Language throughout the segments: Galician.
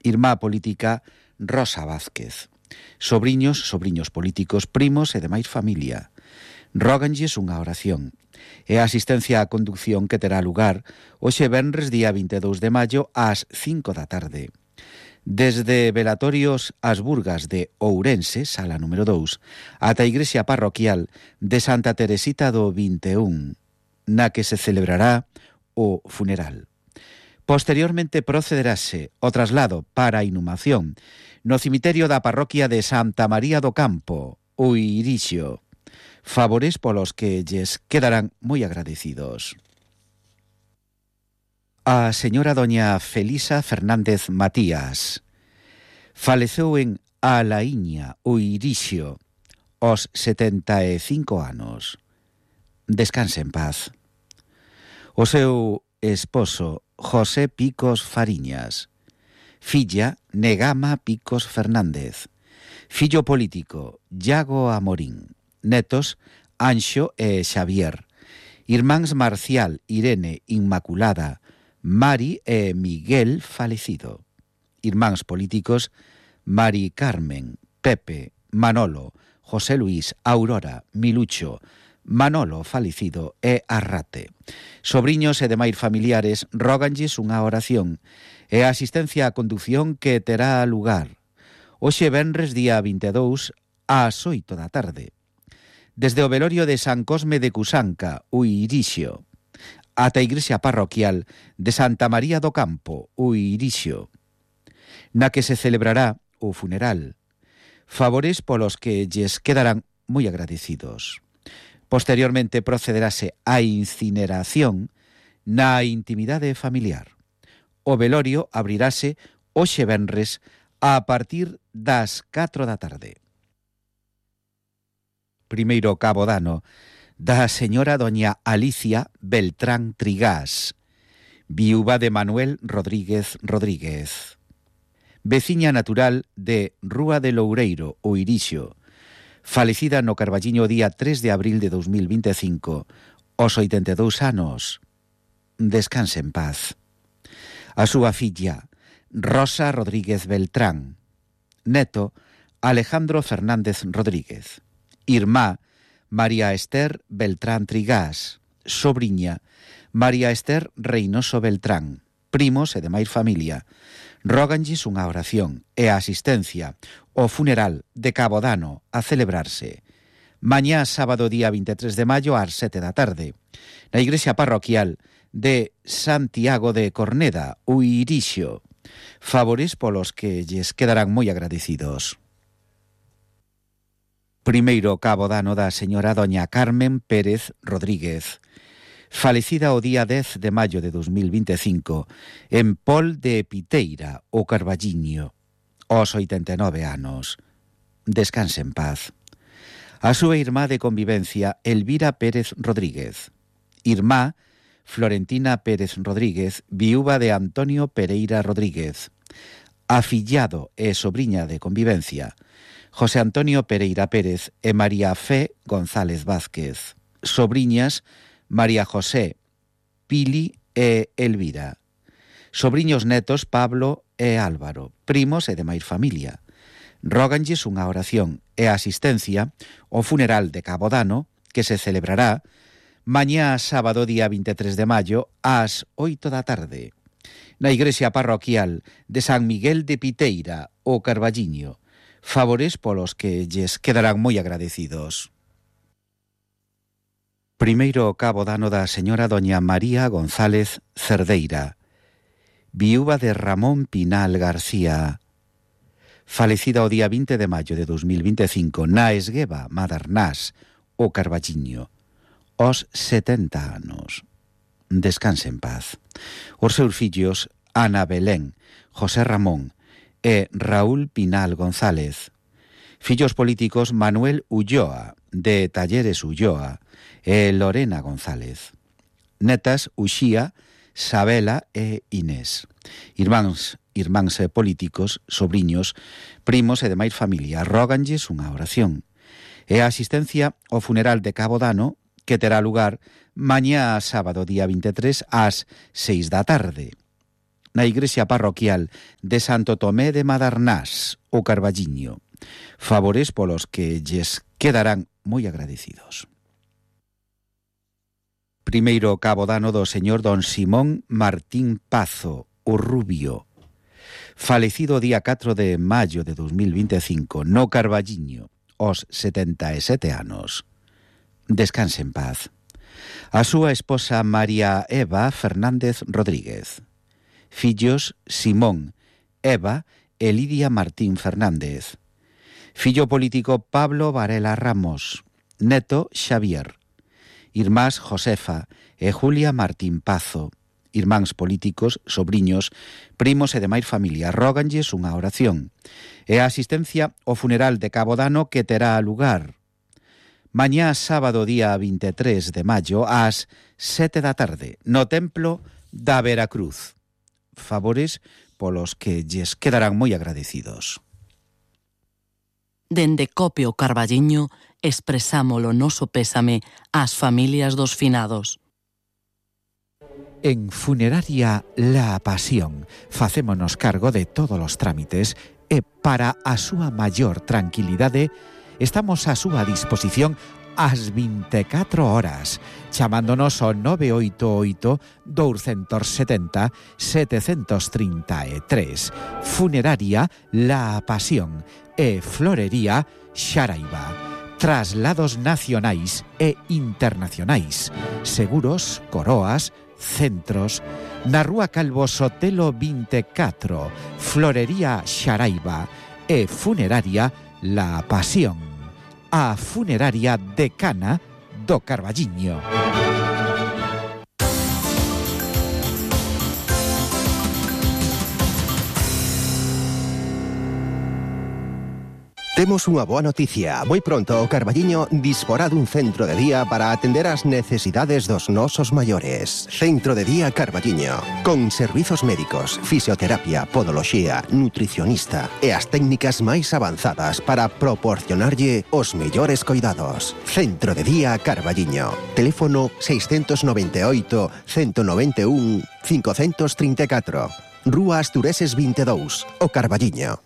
Irmá política Rosa Vázquez. Sobriños políticos, primos e demais familia. Róganlles unha oración. E a asistencia á conducción que terá lugar hoxe venres día 22 de maio ás 5 da tarde. Desde velatorios ás Burgas de Ourense, sala número 2, ata a igrexa parroquial de Santa Teresita do 21, na que se celebrará o funeral. Posteriormente procederase o traslado para a inhumación no cemiterio da parroquia de Santa María do Campo, Uirixio. Favores polos que lles quedarán moi agradecidos. A señora doña Felisa Fernández Matías faleceu en Alaíña, Uirixio, aos 75 anos. Descanse en paz. O seu esposo José Picos Fariñas, filla Negama Picos Fernández, fillo político Iago Amorín, netos Anxo e Xavier, irmáns Marcial, Irene, Inmaculada, Mari e Miguel falecido, irmáns políticos Mari Carmen, Pepe, Manolo, José Luis, Aurora, Milucho, Manolo falecido e Arrate. Sobriños e demais familiares róganlles unha oración e a asistencia á conducción que terá lugar hoxe venres día 22 ás 8 da tarde. Desde o velorio de San Cosme de Cusanca, Uirixio, ata a igrexa parroquial de Santa María do Campo, Uirixio, na que se celebrará o funeral. Favores polos que lles quedarán moi agradecidos. Posteriormente procederase a incineración na intimidade familiar. O velorio abrirase hoxe venres a partir das 4 da tarde. Primeiro cabo dano da señora doña Alicia Beltrán Trigás, viúva de Manuel Rodríguez Rodríguez, veciña natural de Rúa de Loureiro, Uirixio, falecida no Carballiño día 3 de abril de 2025, aos 82 anos. Descanse en paz. A súa filla, Rosa Rodríguez Beltrán, neto Alejandro Fernández Rodríguez, irmá María Esther Beltrán Trigás, sobriña María Esther Reynoso Beltrán, primos e demais familia, róganlles unha oración e a asistencia ao funeral de Cabo Dano a celebrarse mañá sábado día 23 de maio ás 7 da tarde na igrexa parroquial de Santiago de Corneda, Uirixio. Favores polos que lles quedarán moi agradecidos. Primeiro cabo dano da señora doña Carmen Pérez Rodríguez, falecida o día 10 de maio de 2025 en Pol de Piteira, o Carballiño, aos 89 anos. Descanse en paz. A súa irmá de convivencia, Elvira Pérez Rodríguez, irmá Florentina Pérez Rodríguez, viúva de Antonio Pereira Rodríguez, afillado e sobriña de convivencia, José Antonio Pereira Pérez e María Fe González Vázquez, sobriñas María José, Pili e Elvira, sobriños netos Pablo e Álvaro, primos e demais familia. Róganlles unha oración e asistencia ao funeral de Cabo Dano que se celebrará mañá sábado día 23 de maio ás 8 da tarde na igrexa parroquial de San Miguel de Piteira, o Carballiño. Favores polos que lles quedarán moi agradecidos. Primeiro cabo dano da señora doña María González Cerdeira, viúva de Ramón Pinal García, falecida o día 20 de maio de 2025 na Esgueva, Madernás, o Carballiño, aos 70 anos. Descanse en paz. Os seus fillos, Ana Belén, José Ramón e Raúl Pinal González. Fillos políticos, Manuel Ulloa, de Talleres Ulloa, e Lorena González. Netas, Uxía, Sabela e Inés. Irmáns políticos, sobriños, primos e demais familia. Róganlles unha oración. E a asistencia ao funeral de Cabo Dano, que terá lugar mañá sábado día 23 ás 6 da tarde na igrexa parroquial de Santo Tomé de Madarnás, o Carballiño. Favores polos que lles quedarán moi agradecidos. Primeiro cabodano do señor don Simón Martín Pazo, o Rubio, falecido o día 4 de maio de 2025 no Carballiño, aos 77 anos. Descanse en paz. A súa esposa María Eva Fernández Rodríguez. Fillos Simón, Eva e Lidia Martín Fernández. Fillo político Pablo Varela Ramos. Neto Xavier. Irmás Josefa e Julia Martín Pazo. Irmáns políticos, sobriños, primos e demais familia. Róganlles unha oración. E a asistencia ao funeral de Cabodano que terá lugar mañá sábado día 23 de maio ás 7 da tarde no Templo da Veracruz. Favores polos que lles quedarán moi agradecidos. Dende Cope o Carballiño expresamos o noso pésame ás familias dos finados. En Funeraria La Pasión facémonos cargo de todos os trámites e para a súa maior tranquilidade estamos a súa disposición ás 24 horas, chamándonos ao 988-270-733. Funeraria La Pasión e Florería Xaraiba. Traslados nacionais e internacionais. Seguros, coroas, centros. Na Rúa Calvo Sotelo 24, Florería Xaraiba e Funeraria La Pasión. A funeraria decana do Carballiño. Temos unha boa noticia. Moi pronto o Carballiño disporá dun centro de día para atender as necesidades dos nosos maiores. Centro de día Carballiño, con servizos médicos, fisioterapia, podoloxía, nutricionista e as técnicas máis avanzadas para proporcionarlle os mellores coidados. Centro de día Carballiño. Teléfono 698 191 534. Rúa Astureses 22, o Carballiño.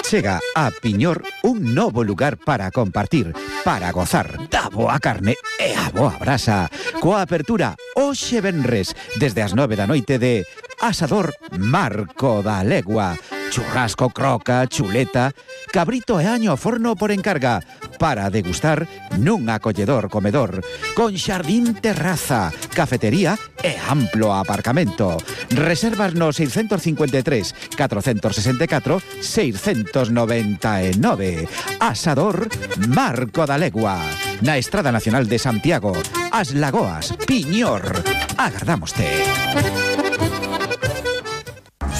Chega a Piñor un novo lugar para compartir, para gozar da boa carne e a boa brasa. Coa apertura hoxe venres desde as 9 da noite de Asador Marco da Legua. Churrasco, croca, chuleta, cabrito e año ao forno por encarga para degustar nun acolledor comedor con xardín, terraza, cafetería e amplo aparcamento. Reservas no 653 464 699. Asador Marco da Legua, na Estrada Nacional de Santiago, As Lagoas, Piñor. Agardámoste.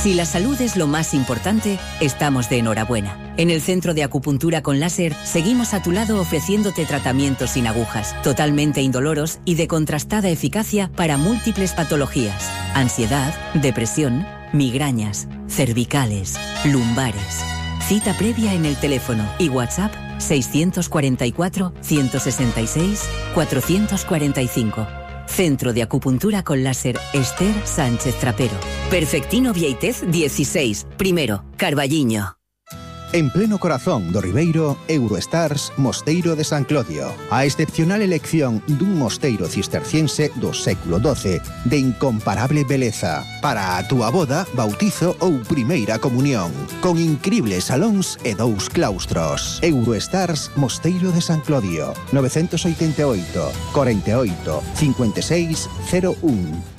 Si la salud es lo más importante, estamos de enhorabuena. En el Centro de Acupuntura con Láser seguimos a tu lado ofreciéndote tratamientos sin agujas, totalmente indoloros y de contrastada eficacia para múltiples patologías: ansiedad, depresión, migrañas, cervicales, lumbares. Cita previa en el teléfono y WhatsApp 644 166 445. Centro de Acupuntura con Láser Esther Sánchez Trapero. Perfectino Vieitez 16, primero, Carballiño. En pleno corazón do Ribeiro, Eurostars Mosteiro de San Clodio. A excepcional elección dun mosteiro cisterciense do século XII de incomparable beleza para a túa boda, bautizo ou primeira comunión, con incribles salóns e 2 claustros. Eurostars Mosteiro de San Clodio, 988 48 56 01.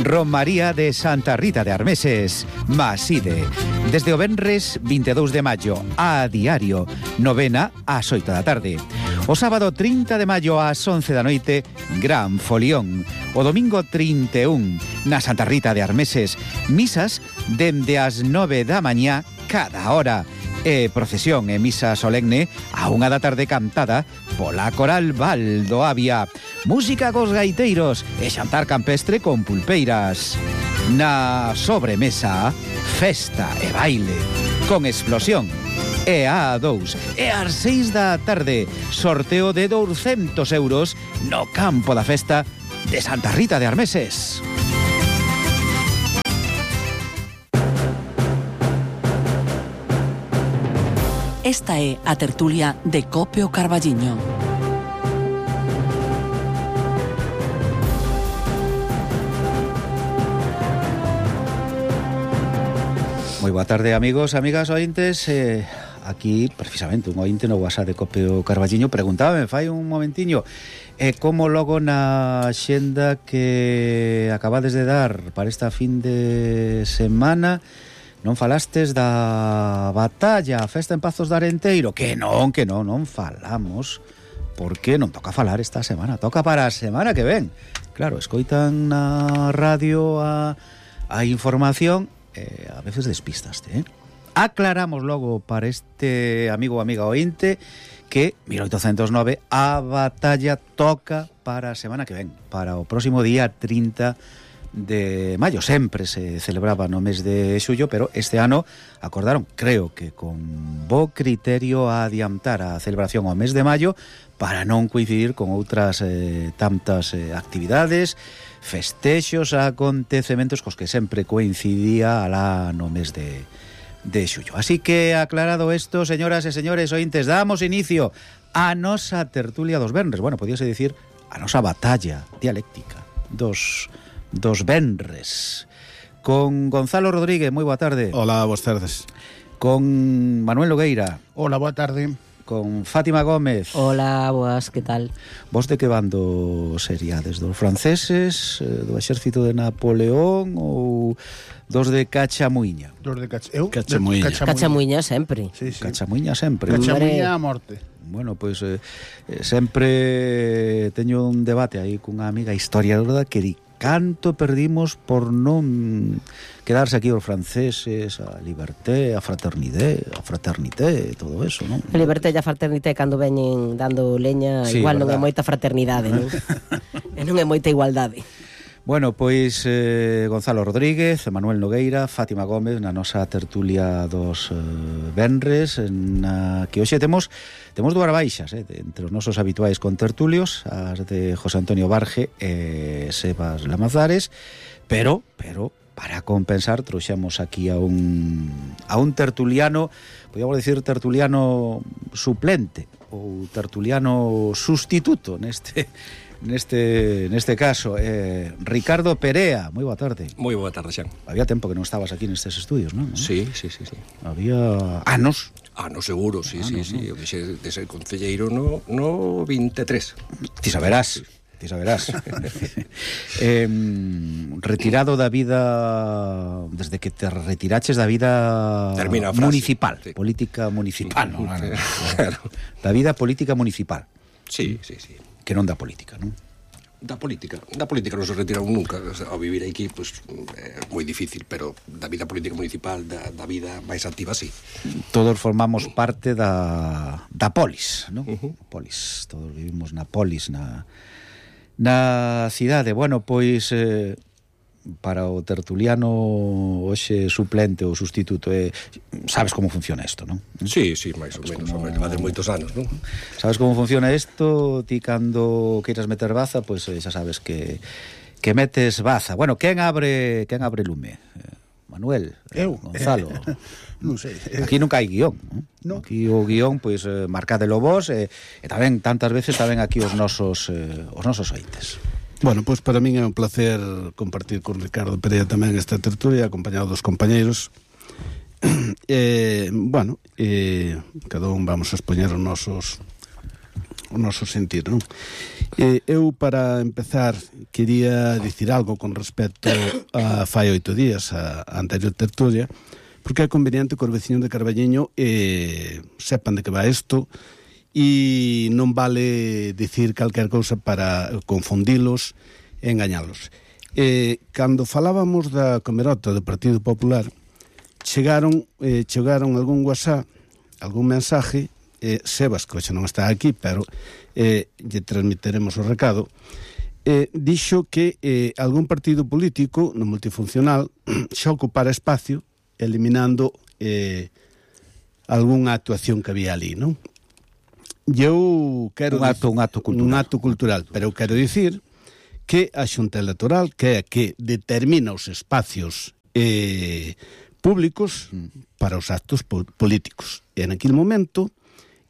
Romaría de Santa Rita de Armeses, Maside. Desde o venres 22 de maio a diario, novena ás 8 da tarde. O sábado 30 de maio ás 11 da noite, gran folión. O domingo 31 na Santa Rita de Armeses, misas dende as 9 da mañá cada hora. E procesión e misa solemne a 1 da tarde cantada pola Coral Val do Avia. Música cos gaiteiros e xantar campestre con pulpeiras. Na sobremesa, festa e baile con explosión. E a 2 e ás 6 da tarde, sorteo de 200 euros no campo da festa de Santa Rita de Armeses. Esta é a tertulia de Cope o Carballiño. Moi boa tarde, amigos, amigas, ointes. Aquí, precisamente, un ointe no WhatsApp de Cope o Carballiño preguntábame, fai un momentiño, como logo na xenda que acabades de dar para esta fin de semana non falastes da batalla, a festa en Pazos de Arenteiro? Que non falamos, porque non toca falar esta semana, toca para a semana que ven. Claro, escoitan na radio a información, a veces despistaste, Aclaramos logo para este amigo ou amiga ointe que 1809 a batalla toca para a semana que ven, para o próximo día 30 de maio. Sempre se celebraba no mes de xullo, pero este ano acordaron, creo que con bo criterio, a adiantar a celebración ao mes de maio para non coincidir con outras tantas actividades, festexos, acontecementos cos que sempre coincidía alá no mes de xullo. Así que, aclarado isto, señoras e señores ointes, damos inicio a nosa tertulia dos venres. Bueno, podíase dicir a nosa batalla dialéctica dos venres. Con Gonzalo Rodríguez, moi boa tarde. Hola, boas tardes. Con Manuel Nogueira. Hola, boa tarde. Con Fátima Gómez. Hola, boas, que tal? Vos de que bando seríades? Dos franceses, do exército de Napoleón ou dos de Cachamuiña? Dos de Cachamuiña. Cachamuiña sempre. Sí, sí. Cachamuiña sempre. Cachamuiña a morte. Bueno, pois sempre teño un debate aí cunha amiga historiadora que di canto perdimos por non quedarse aquí os franceses, a liberté, a fraternité, todo eso, non? A liberté e a fraternité cando veñen dando leña, sí, igual verdad. Non é moita fraternidade, non? E non é moita igualdade. Bueno, pois Gonzalo Rodríguez, Manuel Nogueira, Fátima Gómez na nosa tertulia dos venres, na que hoxe temos dúas baixas, entre os nosos habituais contertulios, as de José Antonio Barge e Sebas Lamazares, pero para compensar trouxemos aquí a un tertuliano, podíamos decir tertuliano suplente ou tertuliano sustituto neste caso, Ricardo Perea. Moi boa tarde. Moi boa tarde, Xan. Había tempo que non estabas aquí nestes estudios, non? Sí. Había anos. Seguro, sí. Eu deixei de ser concelleiro no 23. Ti saberás. Retirado da vida, desde que te retiraches da vida municipal, sí. Política municipal, no. Claro. Da vida política municipal. Sí. Que non da política, non? Da política non se retiraron nunca. Ao vivir aquí, pois, moi difícil, pero da vida política municipal, da vida máis activa, sí. Todos formamos parte da polis, non? Polis, todos vivimos na polis, na cidade. Bueno, pois para o tertuliano hoxe suplente ou sustituto, sabes como funciona isto, non? Sí, máis ou menos, de moitos anos, non? Sabes como funciona isto? Ti cando queiras meter baza, pois xa sabes que metes baza. Bueno, quen abre lume? Manuel? Eu? Gonzalo? Non sei. Aquí nunca hai guión, non? Aquí o guión, pois, marcadelo vos, e tamén, tantas veces, tamén aquí os nosos ointes. Bueno, pois para min é un placer compartir con Ricardo Perea tamén esta tertulia, acompañado dos compañeiros. Cada un vamos a expoñer o noso sentir, non? Eu, para empezar, quería dicir algo con respecto a fai 8 días, a anterior tertulia, porque é conveniente que os veciños de Carballiño sepan de que va isto, e non vale dicir calquer cousa para confundilos e engañalos. Cando falábamos da Comerota do Partido Popular, chegaron algún WhatsApp, algún mensaje, Sebas, que hoxe non está aquí, pero lle transmiteremos o recado, dixo que algún partido político no multifuncional xa ocupara espacio eliminando algunha actuación que había ali, non? Eu quero un acto cultural, pero eu quero dicir que a Xunta Electoral, que é a que determina os espacios públicos para os actos políticos. E naquele momento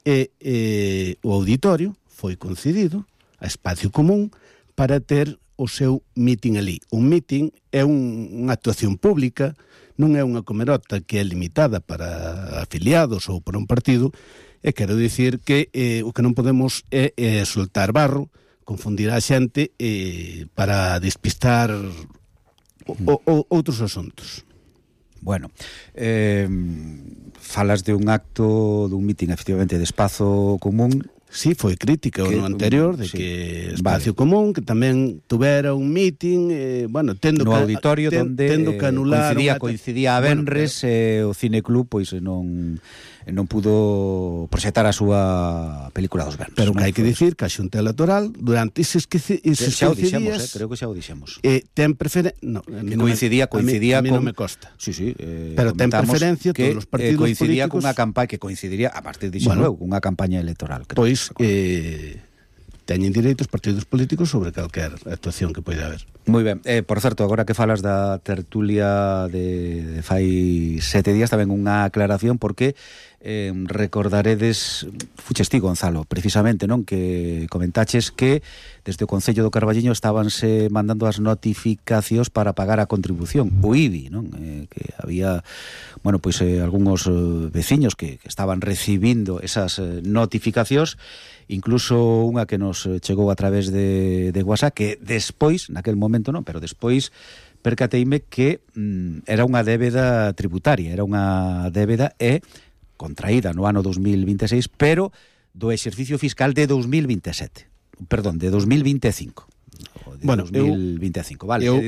o auditorio foi concedido a Espacio Común para ter o seu mitin ali. Un mitin é unha actuación pública, non é unha comerota que é limitada para afiliados ou para un partido, e quero dicir que o que non podemos é soltar barro, confundir a xente para despistar outros asuntos. Bueno, falas de un acto, dun mitin, efectivamente, de Espazo Común. Sí, foi crítica o no anterior de que Espacio Común, que tamén tuvera un mitin, tendo no auditorio onde coincidía a venres, o Cineclub pois non pudo proxectar a súa película dos venres. Pero que hai que dicir que a Xunta Electoral durante eses 15 días, creo que xa o dixemos. Ten preferencia, coincidía a mí non me costa. Sí, pero ten preferencia todos os partidos coincidía políticos. Cunha campaña que coincidiría a partir de luego, unha campaña electoral. Creo. Pois teñen direito os partidos políticos sobre calquer actuación que poida haber. Moi ben, por certo, agora que falas da tertulia de fai 7 días, tamén unha aclaración, porque recordaredes, fuches ti, Gonzalo, precisamente, non, que comentaches que desde o Concello do Carballiño estabanse mandando as notificacións para pagar a contribución, o IBI, non, que había, pois algúns veciños que estaban recibindo esas notificacións, incluso unha que nos chegou a través de WhatsApp, que despois, naquel momento non, pero despois percateime que era unha débeda tributaria, era unha débeda contraída no ano 2026, pero do exercicio fiscal de 2027. Perdón, de 2025. De 2025, vale. Eu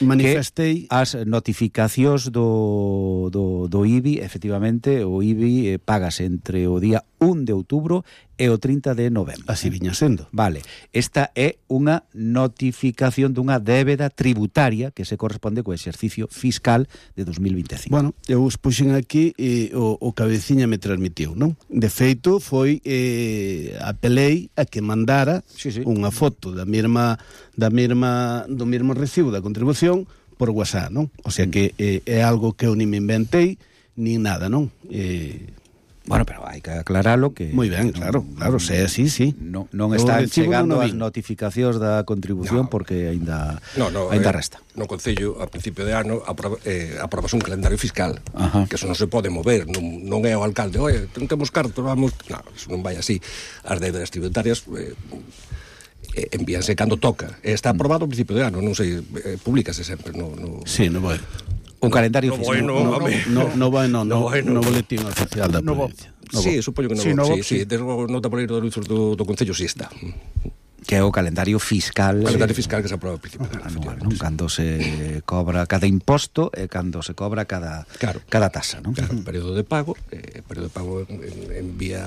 manifestei as notificacións do IBI, efectivamente, o IBI pagas entre o día 1 de outubro e o 30 de novembro. Así viña sendo. Vale, esta é unha notificación dunha débeda tributaria que se corresponde co exercicio fiscal de 2025. Bueno, eu expuxen aquí o cabeciña me transmitiu, non? De feito, foi apelei a que mandara unha foto do mesmo recibo da contribución por WhatsApp, non? O sea que é algo que eu ni me inventei, nin nada, non? Bueno, pero hai que aclaralo que... Moi ben, claro, se é así, sí. Non están chegando as notificacións da contribución porque aínda resta. No Concello, a principio de ano, aprobas un calendario fiscal, que eso non se pode mover, non é o alcalde, oye, non temos cartos, vamos... Non, eso non vai así. As débedas tributarias envíanse cando toca. Está aprobado a principio de ano, non sei, publícase sempre. Sí, non vai. Un calendario fiscal. No boletín oficial da provincia. Sí, supoño que non. Sí, desde o nota por aí do Concello si está. Que é o calendario fiscal. O calendario fiscal que se aproba ao principio anual, non? Cando se cobra cada imposto e cando se cobra cada tasa, non? Claro, período de pago en vía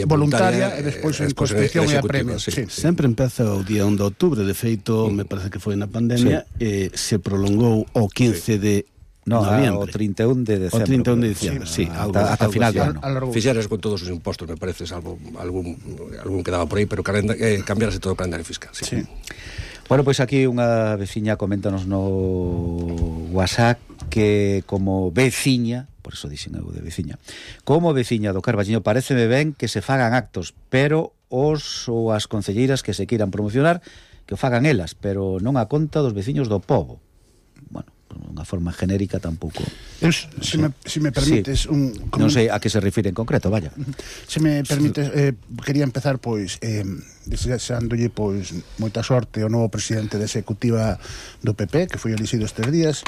voluntaria e despois en constitución e a premio. Sempre empeza o día 1 de outubro, de feito, me parece que foi na pandemia, se prolongou o 15 de noviembre. O 31 de decembro. O 31 de diciembre, sí. Ata final do ano. Fixeras con todos os impostos, me parece, salvo algún que daba por aí, pero cambiarase todo o calendario fiscal. Sí. Bueno, pois aquí unha veciña coméntanos no WhatsApp que como veciña, por eso dixen eu de veciña, como veciña do Carballiño paréceme ben que se fagan actos, pero os ou as concelleiras que se queiran promocionar que o fagan elas, pero non a conta dos veciños do pobo. Bueno, unha forma genérica tampouco. Se me permites non sei a que se refire en concreto, vaya. Se me permites, quería empezar pois desexándolle pois moita sorte ao novo presidente da executiva do PP, que foi elixido estes días,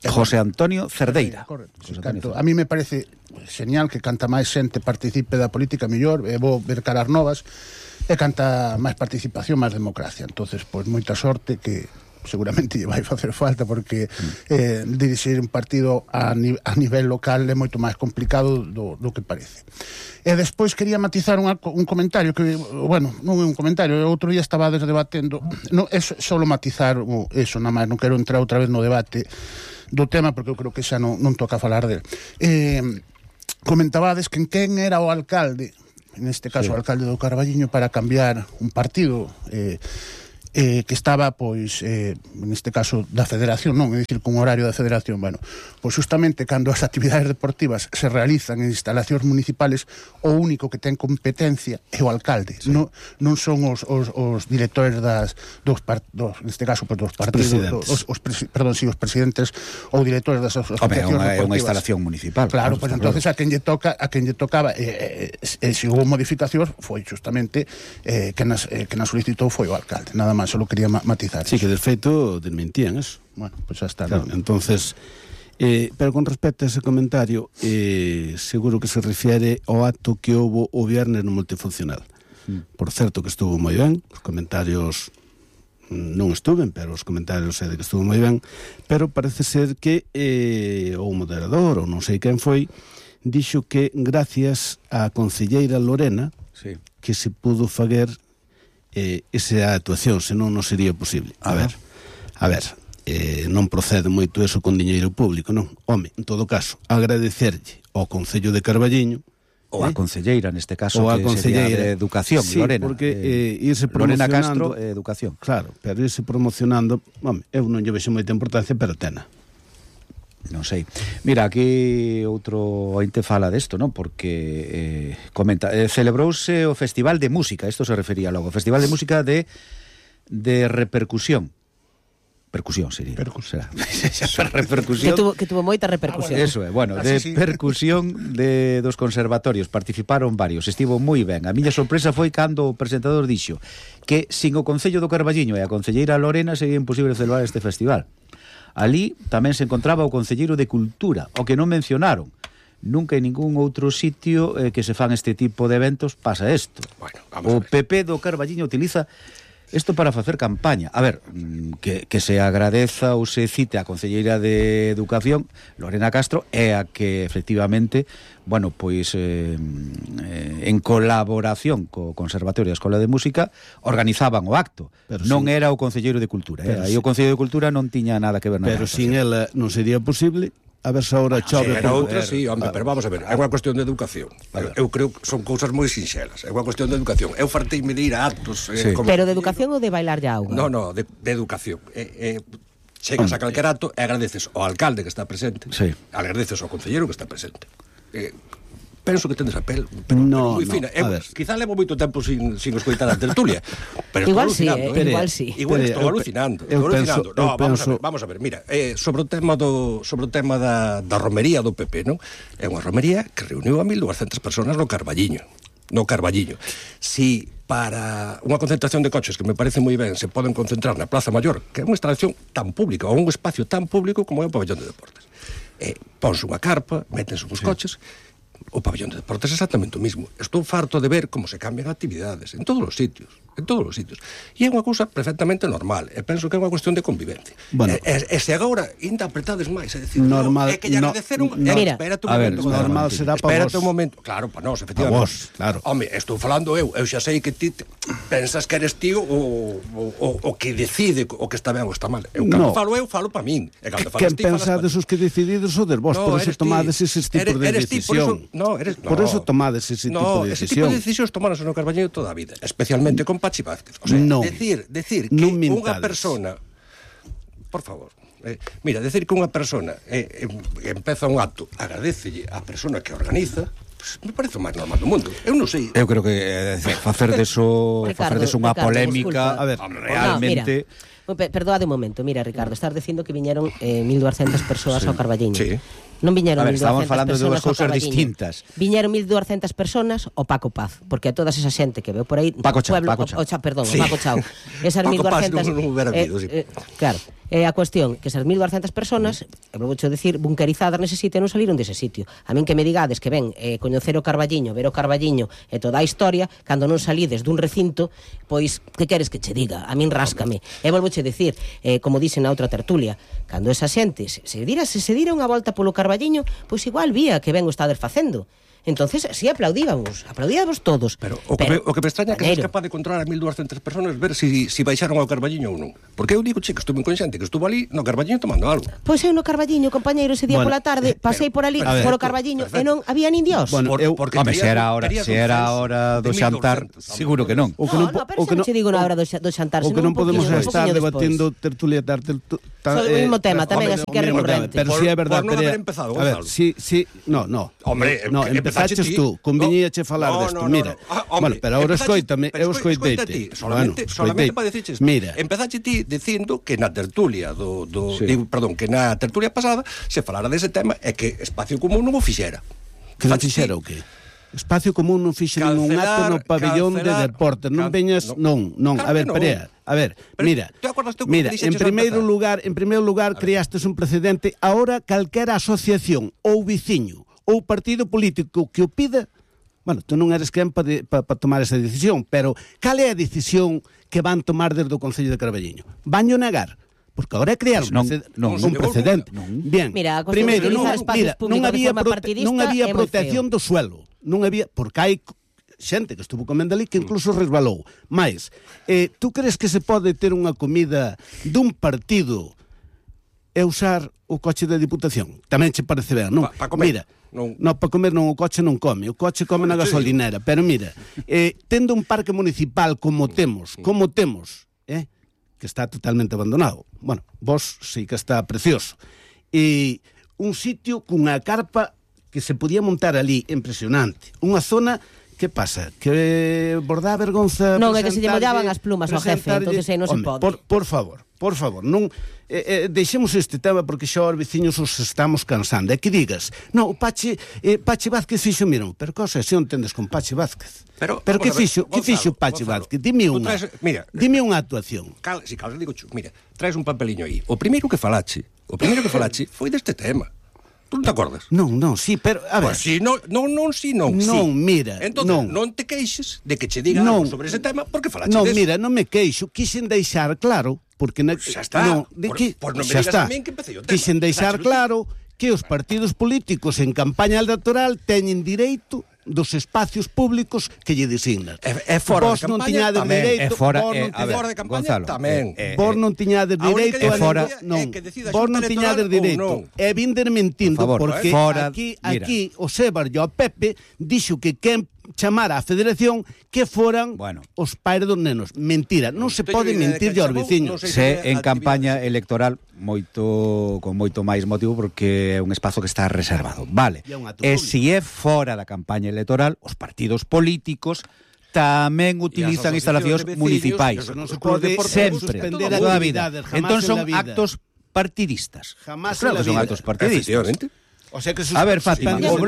José Antonio Cerdeira. Correcto. A mí me parece genial que canta máis xente participe da política mellor, vou ver caras novas, e canta máis participación, máis democracia. Entonces, pois moita sorte, que seguramente lle vai facer falta, porque dirixir un partido a nivel local é moito máis complicado do que parece. E despois quería matizar un comentario que, bueno, non é un comentario, outro día estaba debatendo, é só matizar eso, nada máis, non quero entrar outra vez no debate do tema, porque eu creo que xa non toca falar del. Comentabades que quen era o alcalde, en este caso o alcalde do Carballiño, para cambiar un partido. que estaba, pois, neste caso da Federación, non, é dicir, con horario da Federación, bueno, pois justamente cando as actividades deportivas se realizan en instalacións municipales, o único que ten competencia é o alcalde, sí. non son os directores neste caso, pois, dos partidos, os presidentes ou directores das asociacións deportivas. É unha instalación municipal. Claro, pois entonces a quen lle tocaba, se houve modificacións, foi justamente que nas solicitou foi o alcalde, nada máis. Solo quería matizar. Sí, que de feito desmentían eso. Bueno, pues ya está. Claro, entonces, pero con respecto a ese comentario, seguro que se refiere ao acto que houve o viernes no multifuncional. Por certo que estuvo moi ben, os comentarios non estuven, pero os comentarios é de que estuvo moi ben, pero parece ser que o moderador, ou non sei quen foi, dixo que gracias á concelleira Lorena, sí, que se pudo fager esa actuación, senón non sería posible. A ver, non procede moito eso con diñeiro público, non? Home, en todo caso, agradecerlle ao Concello de Carballiño, ou a concelleira, neste caso, que sería de Educación, sí, Lorena. Porque irse promocionando... Lorena Castro, Educación. Claro, pero irse promocionando, home, eu non lle vexo moita importancia, pero tena. Non sei. Mira, aquí outro ointe fala desto, non? Porque comenta, celebrouse o Festival de Música, isto se refería logo, Festival de Música de repercusión. Percusión sería. Repercusión. Que tuvo moita repercusión. Eso é, bueno, de percusión dos conservatorios. Participaron varios, estivo moi ben. A miña sorpresa foi cando o presentador dixo que sin o Concello do Carballiño e a concelleira Lorena sería imposible celebrar este festival. Ali tamén se encontraba o concelleiro de Cultura, o que non mencionaron. Nunca en ningún outro sitio que se fan este tipo de eventos pasa isto. Bueno, o PP do Carballiño utiliza isto para facer campaña. A ver, que se agradeza ou se cite a concelleira de Educación, Lorena Castro, é a que efectivamente, bueno, pois en colaboración co Conservatorio e a Escola de Música organizaban o acto. Pero non era o concelleiro de Cultura, aí o Concelleiro de Cultura non tiña nada que ver nada. Pero sin ela non sería posible. A ver se ahora chove. Era outra, sí, hombre, pero vamos a ver, é unha cuestión de educación. Eu creo que son cousas moi sinxelas. É unha cuestión de educación. Eu farteime de ir a actos... Pero de educación ou de bailar ya auga? No, de educación. Chegas a calquer acto e agradeces ao alcalde que está presente, agradeces ao concelleiro que está presente. Penso que tendes a pel, pero moi fina. Quizá levo moito tempo sin escoitar a tertulia, pero igual sí, igual sí. Igual estou alucinando. No, vamos a ver, mira, sobre o tema da romería do PP, non? É unha romería que reuniu a 1.200 personas no Carballiño. Si para unha concentración de coches, que me parece moi ben, se poden concentrar na Plaza Maior, que é unha instalación tan pública, ou un espacio tan público como é o pabellón de deportes. Ponse unha carpa, métense uns coches. O pabellón de deportes é exactamente o mismo. Estou farto de ver como se cambian actividades en todos os sitios. E é unha cousa perfectamente normal. E penso que é unha cuestión de convivencia. Bueno, e se agora ainda apretades máis, é dicir, normal, é que lle agradeceron... Espérate un momento. Normal será para vos. Espérate un momento. Claro, para nós, efectivamente. Para vos, claro. Home, estou falando eu xa sei que ti pensas que eres tío o que decide o que está ben ou está mal. Eu cando falo para min. E cando falas ti, pensades os que decidides o des vos, por eso tomades ese tipo de decisión. Por eso tomades ese tipo de decisión. Ese tipo de decisións tomaronse no Carballiño toda a vida, especialmente con Pachi Vázquez. O sea, decir que unha persona, por favor, mira, decir que unha persona empeza un acto, agradecelle á persona que organiza, pues, me parece o máis normal do mundo. Eu non sei. Eu creo que facer deso unha polémica, a ver, realmente... Perdoade un momento, mira, Ricardo, estás dicindo que viñeron 1.200 persoas ao Carballiño. Sí. Non viñeron 1.200 falando de dúas cousas distintas. Viñeron 1.200 personas ao Paco Paz, porque a todas esa xente que veo por aí, Paco Chao. Paco Chao. Esas 1.200 claro. A cuestión que esas 1.200 personas, eu vou decir, bunkerizadas nese sitio, non salieron dese sitio. A min que me digades que ven coñecer o Carballiño, ver o Carballiño e toda a historia, cando non salides dun recinto, pois, que queres que che diga? A min ráscame. E volvoche decir, como dixen na outra tertulia, cando esa xente se dira unha volta polo Carballiño, pois igual vía que ben o estades facendo. Entonces, sí, aplaudíamos todos. Pero o que me extraña é que seas capaz de controlar a 1.200 personas, ver si baixaron ao Carballiño ou non. Porque eu digo, che, que estuve consciente que estuvo ali no Carballiño tomando algo. Pois eu no Carballiño, compañeiro, ese día pola tarde, pasei por ali, polo Carballiño, e non había nin Dios. Bueno, porque se era a hora do xantar, seguro que non. Pero xa non che digo na hora do xantar. O que non podemos estar debatendo tertulia tarde. Sobre o mismo tema, tamén, así que é recurrente. Pero si é verdade, por non haber empezado, Gonzalo. A ver, sí, no. Hombre, empezaches tú, conviñíache falar desto, mira. Bueno, pero agora escoítame, eu escoiteite. Solamente para dicirches. Mira, empezache ti dicindo que na tertulia que na tertulia pasada se falara dese tema e que Espacio Común non o fixera. Que non fixera o qué? Espacio Común non fixe ningún acto no pabellón de deportes. Non veñas, non. A ver, Perea. A ver, mira, en primeiro lugar creastes un precedente. Ahora calquera asociación ou viciño ou partido político que o pida, bueno, tú non eres quen para tomar esa decisión, pero cal é a decisión que van tomar desde o Concello de Carballiño? Vanyo negar? Porque agora é crear un precedente. Bien, mira, primeiro, non había protección do suelo. Non había, porque hai xente que estuvo comendo ali que incluso resbalou. Mais, tú crees que se pode ter unha comida dun partido e usar o coche da Diputación? Tamén che parece ben, non? Para comer. Mira, non, para comer non, o coche non come. O coche come na gasolinera. Pero mira, tendo un parque municipal como temos, que está totalmente abandonado. Bueno, vos sí que está precioso. E un sitio cunha carpa que se podía montar ali, impresionante. Unha zona, que pasa? Que vos dá vergonza... Non, é que se lle mollaban as plumas ao jefe, entonces aí non se pode. Por favor, non deixemos este tema porque xa os veciños os estamos cansando. É que digas, non, o Pachi Vázquez fixo, mira, pero cosa se entendes con Pachi Vázquez? Pero que fixo Pachi Vázquez? Dime unha actuación. Si cal, digo, mira, traes un papeliño aí. O primeiro que falache foi deste tema. ¿Tú non te acordas? Non, sí, pero, a ver... Pues si, non, mira, entón, non te queixes de que che diga algo sobre ese tema porque falache deso. Non, mira, non me queixo, quixen deixar claro, porque... Xa está, non me digas tamén que empecé o tema. Quixen deixar claro que os partidos políticos en campaña electoral teñen direito dos espacios públicos que lle designan. Fora de campaña tamén. Fora de campaña tamén. Vos non tiñades direito vos non tiñades direito. E vinder mentindo, porque aquí o Sebar e o Pepe dixo que quen chamara a Federación que foran os pais dos nenos. Mentira, non se pode mentir aos veciños. Se en campaña electoral con moito máis motivo porque é un espazo que está reservado. Vale. E se é fora da campaña electoral, os partidos políticos tamén utilizan instalacións municipais. Non se pode sempre, toda a vida. Entón son actos partidistas. Claro que son actos partidistas. O sea que a ver, Fátima, o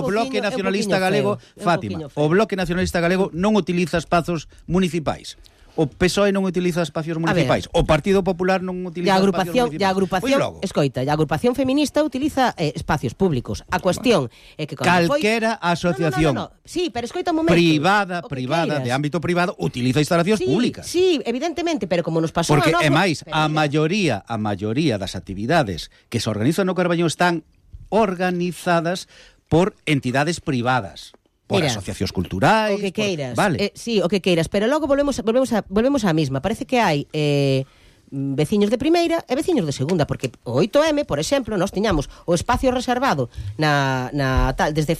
Bloque Nacionalista Galego, Fátima, o Bloque Nacionalista Galego non utiliza espazos municipais. O PSOE non utiliza espacios municipais. O Partido Popular non utiliza espacios municipais. A agrupación feminista utiliza espacios públicos. A cuestión é que calquera asociación sí, pero escoita un momento, privada, de ámbito privado, utiliza instalacións públicas. Sí, evidentemente, pero como nos pasou porque, é máis, a maioría das actividades que se organizan no Carballiño están organizadas por entidades privadas, por asociacións culturais, o que queiras. Vale. Sí, o que queiras, pero logo volvemos á mesma. Parece que hai veciños de primeira e veciños de segunda, porque o 8M, por exemplo, nós tiñamos o espacio reservado desde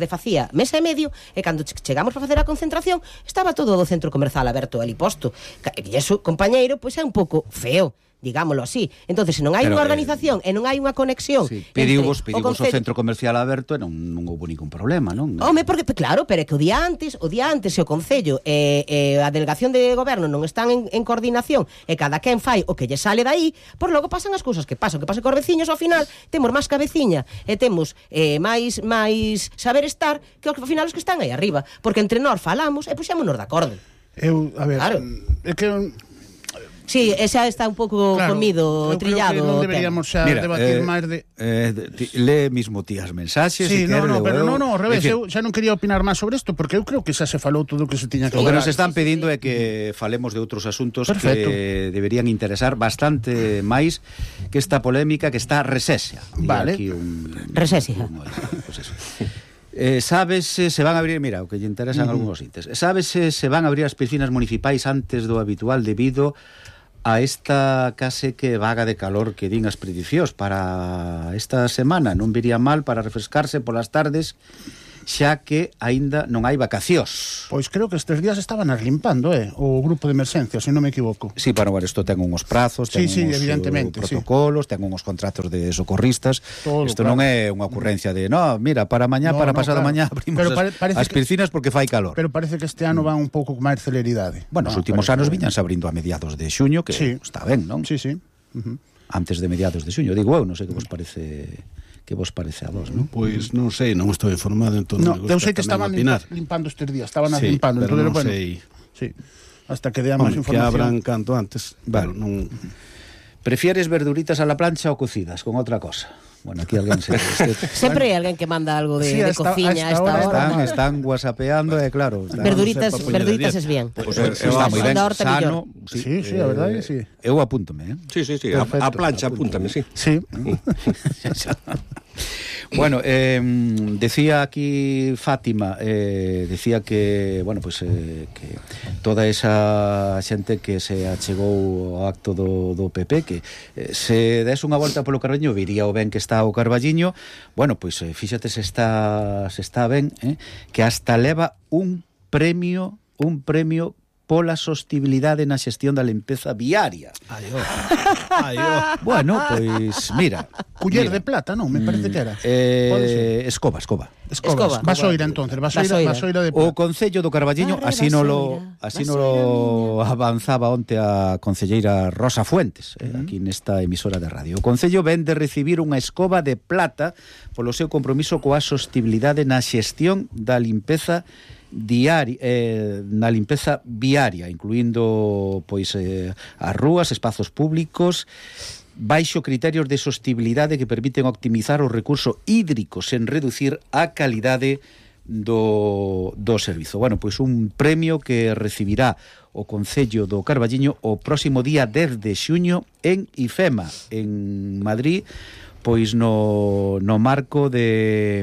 facía mes e medio, e cando chegamos para facer a concentración estaba todo o centro comercial aberto ali posto. E iso, compañeiro, pois é un pouco feo, digámoslo así. Entonces, se non hai unha organización e non hai unha conexión, pedimos o centro comercial aberto e non houve ningún problema, non? Home, porque claro, pero é que o día antes se o Concello e a delegación de goberno non están en coordinación e cada quen fai o que lle sale daí, por logo pasan as cousas que pasan. O que pasa cos veciños, ao final temos máis cabeciña e temos máis saber estar que ao final os que están aí arriba, porque entre nós falamos e puxémonos de acordo. A ver, claro. É que sí, esa está un pouco comido, trillado. Non deberíamos xa debatir máis de... Lee mismo ti as mensaxes. Sí, ao revés, eu xa non quería opinar máis sobre isto, porque eu creo que xa se falou todo o que se tiña que falar. O que nos están pedindo é que falemos de outros asuntos que deberían interesar bastante máis que esta polémica que está resesia. Vale. Resesia. Sabes se van a abrir, mira, o que lle interesan algúns intes. Sabes se van a abrir as piscinas municipais antes do habitual debido a esta case que vaga de calor que din as predicións para esta semana. Non viría mal para refrescarse polas tardes, xa que aínda non hai vacacións. Pois creo que estes días estaban limpando, o grupo de emerxencia, se non me equivoco. Sí, para ver, isto ten uns prazos, ten uns protocolos, ten uns contratos de socorristas. Isto non é unha ocurrencia de, mira, para mañá, para pasado mañá abrimos as piscinas porque fai calor. Pero parece que este ano van un pouco con máis celeridade. Bueno, os últimos anos viñanse abrindo a mediados de xuño, que está ben, non? Sí. Antes de mediados de xuño, digo eu, non sei que vos parece... Que vos parece a vos, non? Pois non sei, non estou informado, entón eu sei que estaban limpando estes días, estaban limpando, pero non sei. Sí, hasta que dea máis información. Que abran canto antes. Vale, non... Prefieres verduritas a la plancha ou cocidas con outra cosa? Bueno, aquí alguén sempre hai alguén que manda algo de cociña a esta hora. Están whatsappeando, claro. Verduritas es bien. Está moi ben, sano. Sí, a verdade, sí. Eu apúntome, Sí, a plancha apúntame, sí. Sí. Bueno, decía aquí Fátima, decía que, bueno, pues que toda esa xente que se achegou ao acto do PP, que se des unha volta polo Carballiño viría o ben que está o Carballiño. Bueno, pois fíxate se está ben, que hasta leva un premio pola sostibilidade na xestión da limpeza viaria. Bueno, pois mira, culler de plata, non? Me parece que era. Escoba. Vasoira, entonces, vasoira de plata. O Concello do Carballiño así nolo avanzaba onte a concelleira Rosa Fuentes, aquí nesta emisora de radio. O Concello ven de recibir unha escoba de plata polo seu compromiso coa sostibilidade na xestión da limpeza na limpeza viaria, incluindo pois as rúas, espazos públicos, baixo criterios de sostibilidade que permiten optimizar o recurso hídrico sen reducir a calidade do servizo. Bueno, pois un premio que recibirá o Concello do Carballiño o próximo día 10 de xuño en IFEMA, en Madrid, pois no marco de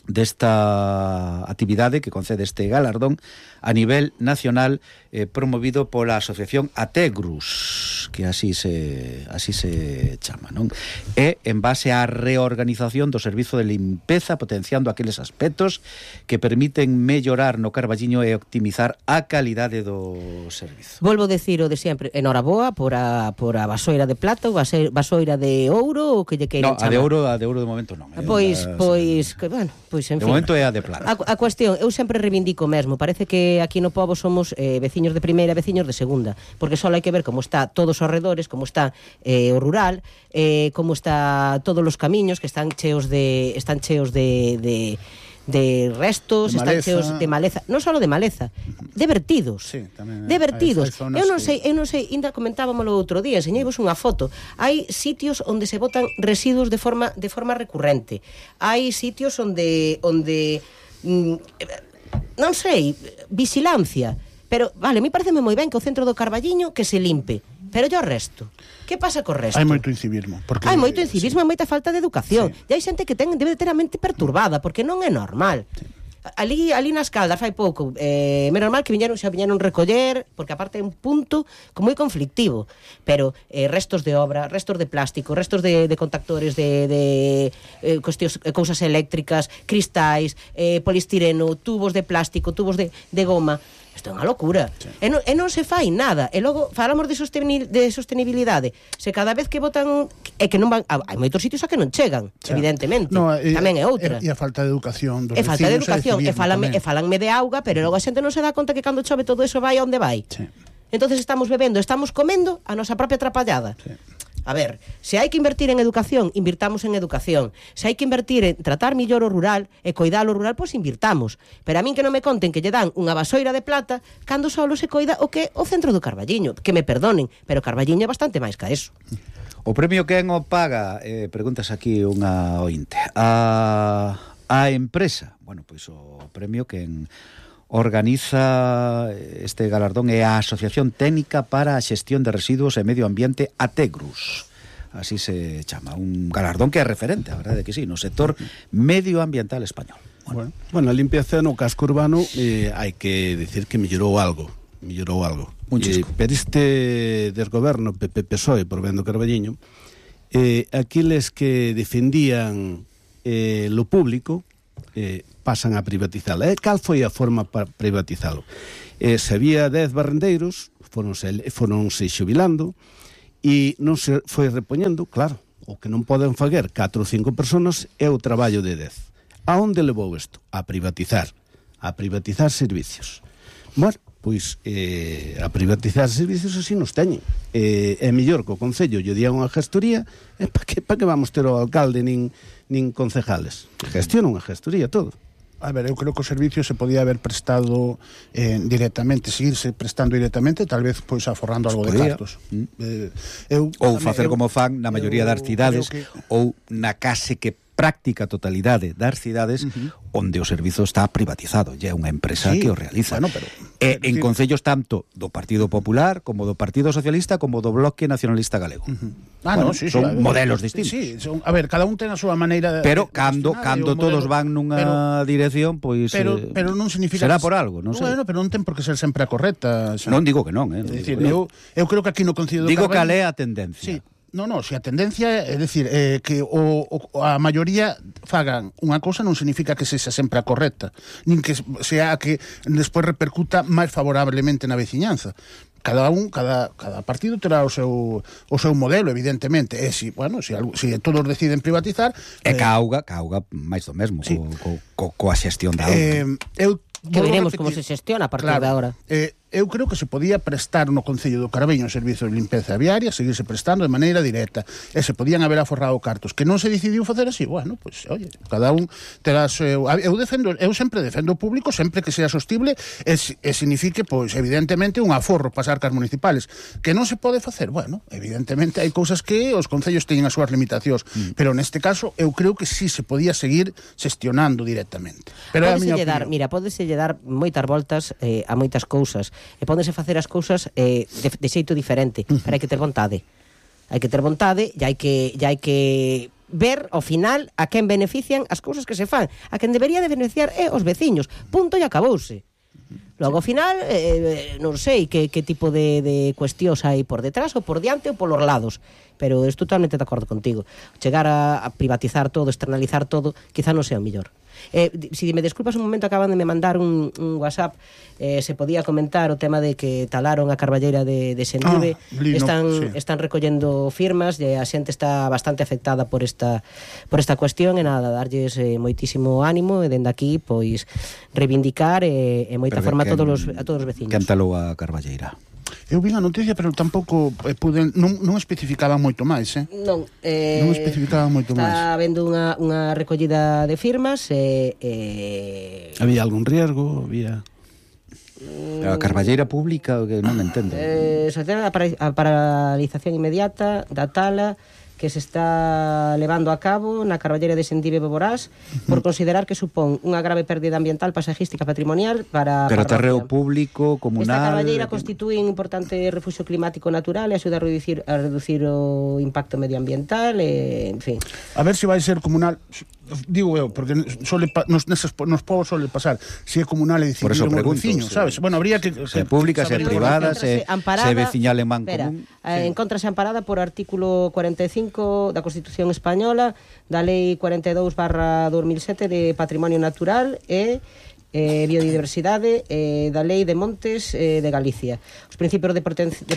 desta actividade que concede este galardón a nivel nacional, promovido pola asociación Ategrus, que así se chama, non? E en base á reorganización do servizo de limpeza, potenciando aqueles aspectos que permiten mellorar no Carballiño e optimizar a calidade do servizo. Volvo decir o de sempre, enhoraboa por a vasoira de plata ou vasoira de ouro ou que lle queiran chamar. A de ouro de momento non. Pois, bueno, pois en fin. De momento é a de plata. A cuestión, eu sempre reivindico mesmo, parece que aquí no pobo somos veciños de primeira, veciños de segunda, porque só hai que ver como está todos os arredores, como está o rural, como está todos os camiños que están cheos de restos, están cheos de maleza, non só de maleza, de vertidos. Sí, tamén de vertidos. Eu non sei, ainda comentábamos o outro día, enseñeivos unha foto. Hai sitios onde se botan residuos de forma recurrente. Hai sitios onde non sei, vigilancia. Pero, vale, a mí pareceme moi ben que o centro do Carballiño que se limpe, pero yo o resto. Que pasa co resto? Hai moito incivismo. Hai moito incivismo e moita falta de educación. E hai xente que debe ter a mente perturbada, porque non é normal. Sí. Ali nas Caldas fai pouco, é normal que viñeron recoller, porque aparte é un punto moi conflictivo, pero restos de obra, restos de plástico, restos de contactores de cuestións, cousas eléctricas, cristais, polistireno, tubos de plástico, tubos de goma. Isto é unha locura. Sí. E non se fai nada. E logo falamos de sostenibilidade. Se cada vez que botan é que non van, hai moitos sitios a que non chegan, evidentemente. No, tamén é outra. E a falta de educación dos vecinos. E falta de educación, e falanme de auga, pero logo a xente non se dá conta que cando chove todo eso vai onde vai. Sí. Entonces estamos bebendo, estamos comendo a nosa propia atrapallada. Sí. A ver, se hai que invertir en educación, invirtamos en educación. Se hai que invertir en tratar millor o rural e coidar o rural, pois invirtamos. Pero a min que non me conten que lle dan unha vasoira de plata cando solo se coida o que o centro do Carballiño. Que me perdonen, pero Carballiño é bastante máis que eso. O premio quen o paga? Preguntas aquí unha ointe. A empresa. Bueno, pois o premio quen organiza este galardón é a Asociación Técnica para a Xestión de Residuos e Medio Ambiente Ategrus. así se chama, un galardón que é referente, a verdade que sí, no sector medioambiental español. Bueno, a limpieza no casco urbano hai que dicir que mellorou algo. Pero este desgoberno PP-PSOE por Vendo Carballiño, aqueles que defendían lo público pasan a privatizalo. Cal foi a forma para privatizalo? Se había 10 barrendeiros, foronse xubilando e non se foi repoñendo, claro, o que non poden fazer 4 ou 5 personas é o traballo de 10. A onde levou isto? A privatizar servicios. Bueno, pois a privatizar servicios así nos teñen. É mellor que o Concello lle diga unha gestoría, para que vamos ter o alcalde nin concejales? Gestiona unha gestoría todo. A ver, eu creo que o servicio se podía haber prestado directamente, seguirse prestando directamente, tal vez pois aforrando algo de cartos. Ou facer como fan na maioría das cidades, ou na case que práctica totalidade das cidades onde o servizo está privatizado, e é unha empresa que o realiza. Bueno, pero en concellos tanto do Partido Popular como do Partido Socialista como do Bloque Nacionalista Galego. Son modelos distintos. Sí, a ver, cada un ten a súa maneira. Pero cando todos van nunha dirección, pois pero non significa será por algo, non sei. Bueno, pero non ten por que ser sempre a correcta. Non digo que non, É dicir, eu creo que aquí no Concello do Digo Carballo, que é a tendencia. Sí. No, se a tendencia é dicir que a maioría fagan unha cousa non significa que sexa sempre a correcta, nin que sea a que despois repercuta máis favorablemente na veciñanza. Cada partido terá o seu modelo, evidentemente. E se todos deciden privatizar, ca auga máis do mesmo, sí, coa xestión da auga. Que veremos como se xestiona a partir de agora. Eu creo que se podía prestar no Concello do Carballiño o servizo de limpeza viaria, seguirse prestando de maneira directa, e se podían haber aforrado cartos. Que non se decidiu facer así, bueno, pois, oye, cada un terá seu... Eu sempre defendo o público, sempre que sea sostible, e signifique, pois, evidentemente, un aforro para as arcas municipales. Que non se pode facer, bueno, evidentemente hai cousas que os concellos teñen as súas limitacións, pero neste caso eu creo que sí se podía seguir xestionando directamente. Pero Pódeselle dar moitas voltas a moitas cousas, e pódense facer as cousas de xeito diferente, pero hai que ter vontade. Hai que ter vontade e hai que ver ao final a quen benefician as cousas que se fan. A quen debería de beneficiar é os veciños. Punto e acabouse. Logo, ao final, non sei que tipo de cuestións hai por detrás, ou por diante, ou polos lados. Pero estou totalmente de acordo contigo. Chegar a privatizar todo, externalizar todo, quizá non sea o mellor. Si me desculpas un momento, acaban de me mandar un WhatsApp, se podía comentar o tema de que talaron a carballeira de Sendive. Están recollendo firmas e a xente está bastante afectada por esta cuestión, e nada, darlles moitísimo ánimo, e dende aquí pois reivindicar e moita forma a todos os veciños. Quen talou a carballeira? Eu vi a noticia, pero tampouco non especificaba moito máis, Non especificaba moito máis. Está habendo unha recollida de firmas Había algún riesgo? A carballeira pública, que non entendo. A paralización inmediata da tala que se está levando a cabo na carballeira de Sendive Boborás por considerar que supón unha grave pérdida ambiental, paisajística, patrimonial para pero terreo público, comunal. Esta carballeira constitúe un importante refugio climático natural e axuda a reducir o impacto medioambiental, en fin. A ver se vai ser comunal, digo eu, porque nos povos suele pasar, se é comunal e decidir un veciño, sabes? Bueno, habría que se pública, se privada, se veciñal en man común. Encontrase amparada por artículo 45 da Constitución Española, da Lei 42/2007 de Patrimonio Natural e biodiversidade, da Lei de Montes de Galicia. Os principios de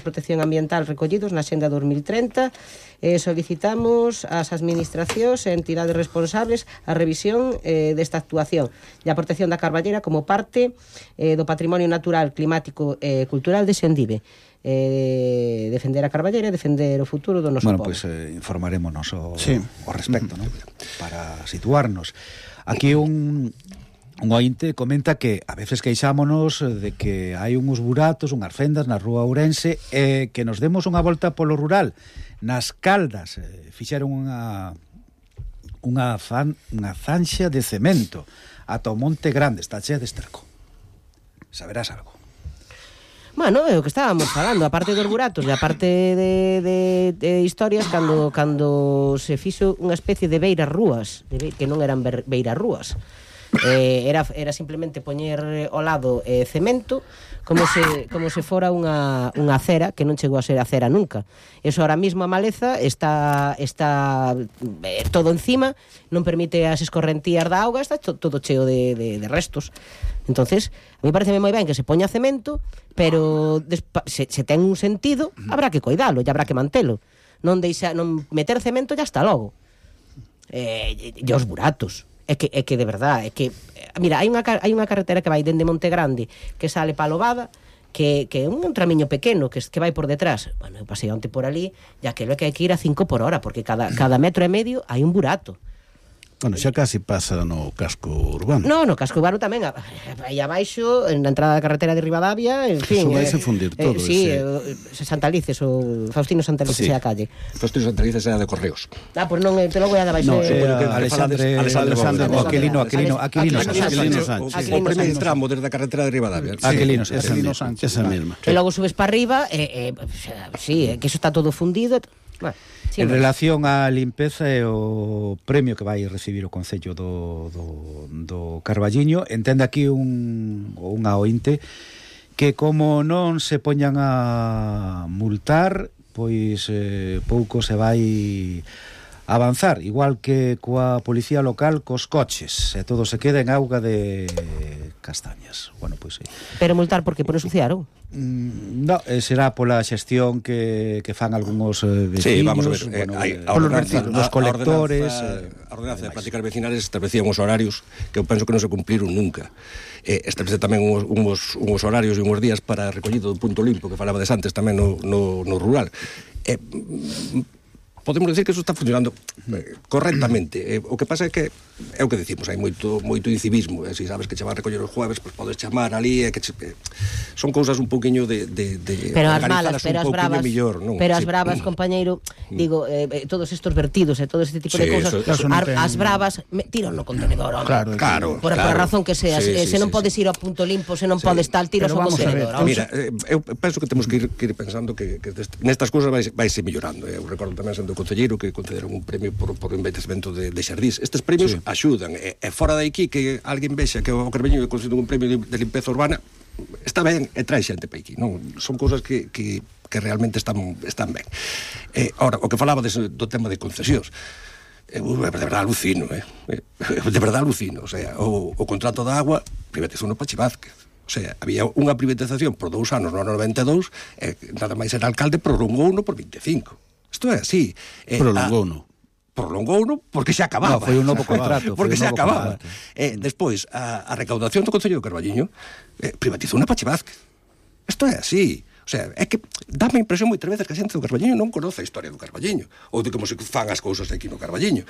protección ambiental recollidos na Xenda 2030. Solicitamos ás administracións e entidades responsables a revisión desta actuación e a protección da carballeira como parte do patrimonio natural, climático e cultural de Sendive. Defender a carballeira e defender o futuro do noso povo. Pois informarémonos ao respecto, ¿no? Para situarnos. Aquí un ointe comenta que a veces queixámonos de que hai uns buratos, unhas fendas na rúa Ourense, e que nos demos unha volta polo rural. Nas Caldas fixeron unha zanxa de cemento ata o Monte Grande, está chea de esterco. Saberás algo? Bueno, é o que estábamos falando, a parte dos buratos e a parte de historias cando se fixo unha especie de beirarrúas, que non eran beirarrúas. Era simplemente poñer ao lado cemento como se fora unha acera que non chegou a ser acera nunca. Eso ahora mismo a maleza está todo encima, non permite as escorrentías da auga, está todo cheo de restos. Entonces, a mí pareceme moi ben que se poña cemento, pero se ten un sentido, habrá que coidalo, e habrá que mantelo. Non meter cemento ya está logo. E os buratos. É que de verdade, mira, hai unha carretera que vai dende Monte Grande que sale pa Lobada, que é un tramiño pequeno que vai por detrás. Bueno, eu pasei onte por ali, e aquilo é que hai que ir a 5 por hora, porque cada metro e medio hai un burato. Bueno, xa casi pasa no casco urbano. No casco urbano tamén, aí abaixo, na entrada da carretera de Ribadavia, en fin. Eso vaise fundir todo. Sí, Santalices, o Faustino Santalices é a calle. Faustino Santalices é a de Correos. Pois non, te logo é a de baixo. Alexandre Aquilino Sánchez. O primeiro tramo desde a carretera de Ribadavia. Aquilino Sánchez. Esa mesma. E logo subes para arriba, sí, que eso está todo fundido. Bueno, sí, en relación á limpeza e o premio que vai recibir o Concello do Carballiño, entende aquí unha ointe que como non se poñan a multar, pois pouco se vai avanzar, igual que coa policía local cos coches, e todo se queda en auga de castañas. Bueno, pois sí. Pero multar porque por ensuciaron? No, será pola xestión que fan algúns vecinos. Sí, vamos a ver, os colectores. A ordenanza de prácticas vecinales establecía uns horarios que eu penso que non se cumpliron nunca. Establece tamén uns horarios e uns días para recollido do punto limpo que falaba antes tamén no rural. Podemos decir que eso está funcionando correctamente. O que pasa é que é o que decimos, hai moito incivismo, se sabes que che vas a recoller os jueves, pois podes chamar ali, son cousas un pouquiño de pero as malas, pero as bravas, millor, non? Pero as bravas, compañeiro, digo, todos estos vertidos e todo este tipo de cousas, as bravas tiran no contenedor, home. Claro. Por a razón que sea, se non podes ir ao punto limpo, se non podes tal, tiras ao contenedor. Mira, eu penso que temos que ir pensando que nestas cousas vaise mellorando. Eu recordo tamén sendo concelleiro que concederon un premio por envellecemento de xardís. Estes premios axudan, e fora de aquí que alguén vexa que o Carballiño concede un premio de limpeza urbana, está ben e trae xente para aquí, non? Son cousas que realmente están ben. Ora, o que falaba do tema de concesións, de verdade alucino, de verdade alucino, o sea, o contrato da agua privatizou no Pachi Vázquez. O sea, había unha privatización por 2 anos no ano 92, nada máis era alcalde, prolongouno por 25. Isto é así. Prolongouno porque se acababa. Foi un novo contrato. Porque se acababa. Despois, a recaudación do Concello do Carballiño privatizou na Pachi Vázquez. Isto é así. O sea, é que dá-me a impresión moitas veces que a xente do Carballiño non conoce a historia do Carballiño, ou de como se fan as cousas aquí no Carballiño.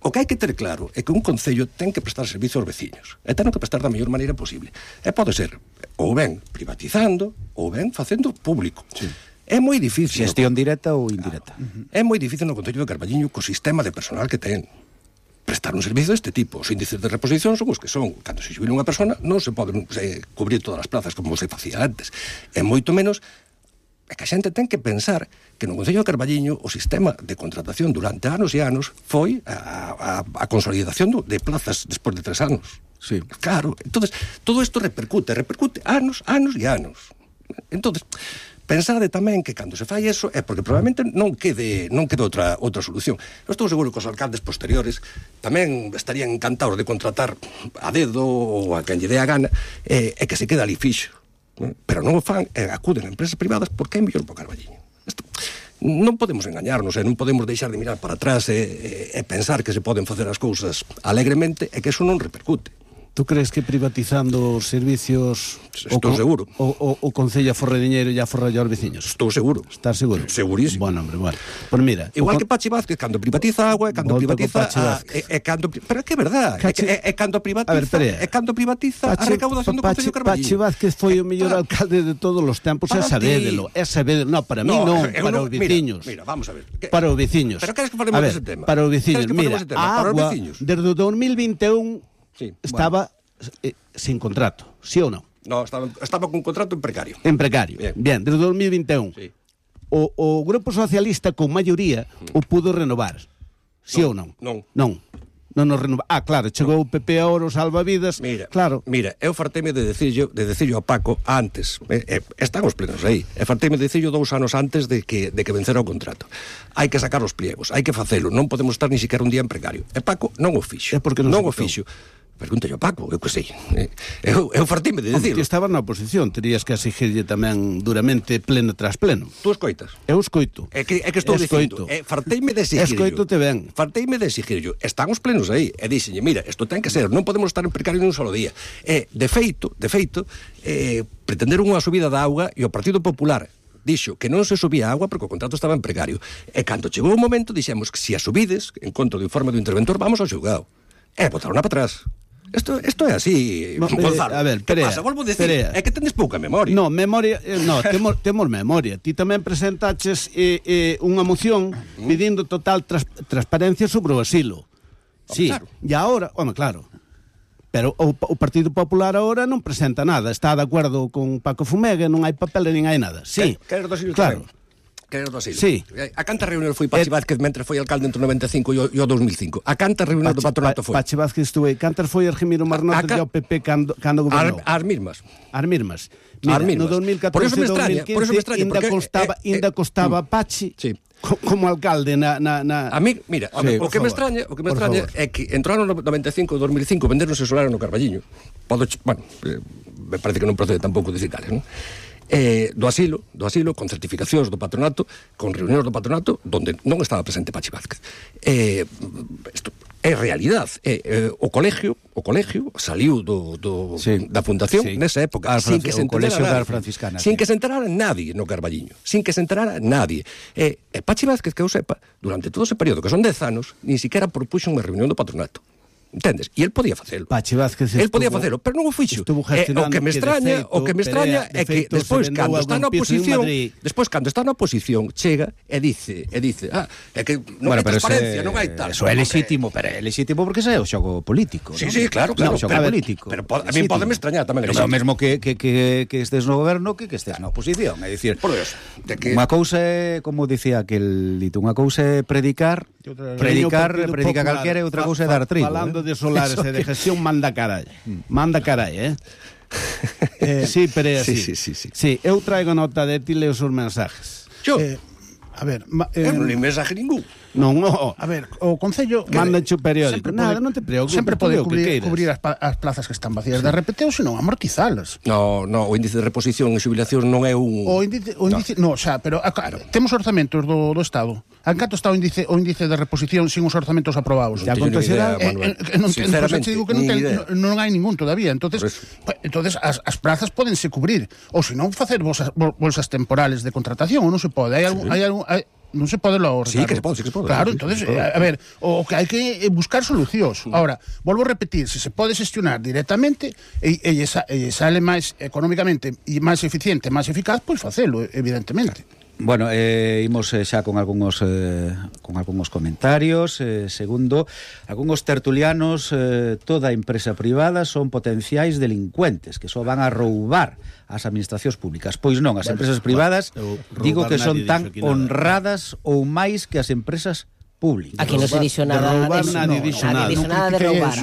O que hai que ter claro é que un concello ten que prestar servizo aos veciños, e ten que prestar da mellor maneira posible. E pode ser ou ben privatizando, ou ben facendo público. Sí. É moi difícil. Xestión directa ou indirecta. É moi difícil no Concello do Carballiño co sistema de personal que ten prestar un servizo deste tipo. Os índices de reposición son os que son. Cando se xubila unha persona non se poden cubrir todas as plazas como se facía antes. É moito menos que a xente ten que pensar que no Concello do Carballiño o sistema de contratación durante anos e anos foi a consolidación de plazas despois de 3 anos. Sí. Claro, entonces todo isto repercute anos e anos. Entonces pensade tamén que cando se fai eso é porque probablemente non quede outra solución. Eu estou seguro que os alcaldes posteriores tamén estarían encantados de contratar a dedo ou a quen lle dé a gana e que se quede ali fixo. Pero non o fan e acuden a empresas privadas porque é mellor para o Carballiño. Non podemos engañarnos non podemos deixar de mirar para atrás e pensar que se poden facer as cousas alegremente e que eso non repercute. Tú crees que privatizando os servicios estou seguro o Concello aforre diñeiro e aforra aos veciños? Estou seguro. Estás seguro? Segurísimo. Bueno, hombre, bueno. Pues mira, igual que Pachi Vázquez cando privatiza a agua, cando privatiza pero é que é verdad, é cando privatiza a recaudación do Concello Carballiño. Pachi Vázquez foi o mellor alcalde de todos os tempos, é sabédelo. No, para mí non, para os veciños. Mira, vamos a ver. Para os veciños. Pero queres que falemos dese tema? Para os veciños, mira, a agua desde o 2021 estaba sin contrato, sí ou non? No, estaba con contrato en precario. En precario. Bien, desde 2021. Sí. O Grupo Socialista con maioría o pudo renovar. Sí ou non? Non. Non nos renova. Claro, chegou o PP ahora, os salvavidas. Mira, eu farteime de decirlo a Paco antes, están os plenos aí, farteime de decirlo 2 anos antes de que vencera o contrato. Hai que sacar os pliegos, hai que facelo, non podemos estar ni siquiera un día en precario. E Paco non o fixo. É porque non o fixo. Pregúntalle a Paco, eu que sei. Eu fartime de dicirlo. Ti estabas na oposición, terías que exigirlle tamén duramente pleno tras pleno. Tú escoitas? Eu escoito. É que estou dicindo, farteime de exigirlo. Escoitote ben. Farteime de exigirlo. Están os plenos aí. E dixenlle, mira, isto ten que ser, non podemos estar en precario nun solo día. De feito, pretenderon unha subida da auga e o Partido Popular dixo que non se subía a agua porque o contrato estaba en precario. E cando chegou o momento, dixemos que se a subides, en contra do informe do interventor, vamos ao xulgado. E botaron para atrás. Isto é así, Gonzalo. A ver, que pasa? Volvo a decir, é que tenes pouca memoria. No, memoria, temos memoria. Ti tamén presentaches unha moción pedindo total transparencia sobre o asilo. Sí, claro. E agora, claro. Pero o Partido Popular agora non presenta nada. Está de acordo con Paco Fumega, non hai papel nin hai nada. Sí, claro. Que era do asilo. Sí. A canta reunión foi Pachi Vázquez mentre foi alcalde entre o 95 e o 2005. A canta reunión do patronato foi. Pachi Vázquez estuve. Cantar foi Argemiro Marnote do PP cando gobernou. As mismas. Mira, no 2014 e 2015 ainda costaba Pachi. Sí. Como alcalde na... A mí, mira, o que me extraña é que entraron no 95 e 2005 venderonse solares no Carballiño. Me parece que non procede tampouco dicir cales, non? Do asilo, con certificacións do patronato, con reunións do patronato, donde non estaba presente Pachi Vázquez. Isto é realidade. O colegio saliu da fundación nesa época, sin que se enterara nadie no Carballiño, sin que se enterara nadie. Pachi Vázquez, que eu sepa, durante todo ese período, que son 10 anos, ni siquiera propuxo unha reunión do patronato. Entendes? E el podía facelo. Pachi Vázquez podía facelo, pero non o fixo. O que me extraña é que despois cando está na oposición, chega e dice, é que non hai transparencia, non hai tal. Eso é lexítimo, pero é lexítimo porque é o xogo político. Sí, claro, o xogo político. Pero a mí podeme extrañar tamén. É o mesmo que estés no goberno que estés na oposición, é dicir, unha cousa é, como dicía aquel dito, unha cousa é predicar calquera e outra cousa é dar trigo. Falando de solares e de gestión, manda carai, sí, pero é así. Sí, eu traigo nota de ti, leo os mensajes. A ver, eu non li mensaje ningún. Non. A ver, o Concello manda-che o periódico. Nada, non te preocupes. Sempre pode cubrir as plazas que están vacías de repeteo, senón amortizalas. No, o índice de reposición e xubilación non é un... O índice, pero temos orzamentos do Estado. En canto está o índice de reposición sin os orzamentos aprobados? Ya acontecerá, sinceramente digo que non hai ningún todavía. Entonces as plazas pódense cubrir, ou senón facer bolsas temporales de contratación, ou non se pode. Non se pode lo Sí, que se pode. Claro, entonces, a ver, o que hai que buscar solucións. Ahora, volvo a repetir, se se pode xestionar directamente e sale máis económicamente e máis eficiente, máis eficaz, pois facelo, evidentemente. Bueno, imos xa con algúns comentarios. Segundo, algúns tertulianos, toda empresa privada son potenciais delincuentes que só van a roubar as administracións públicas. Pois non, as empresas privadas digo que son tan honradas ou máis que as empresas públicas. Aquí non se dixo nada. Nadie dixo nada de roubar.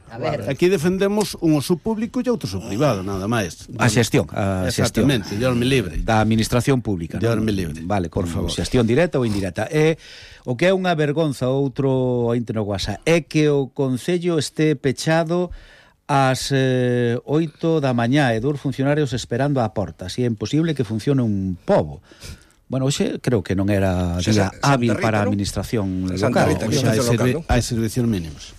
A ver. Aquí defendemos un uso público e outro uso privado, nada máis. A xestión. Exactamente, Diosme libre. Da administración pública. Diosme libre. Vale, por favor. Xestión directa ou indirecta. O que é unha vergonza, outro ointe no WhatsApp, é que o Concello este pechado ás 8 da mañá e 2 funcionarios esperando á porta. Si é imposible que funcione un pobo. Bueno, hoxe creo que non era día hábil para a administración local. Hai servicios mínimos.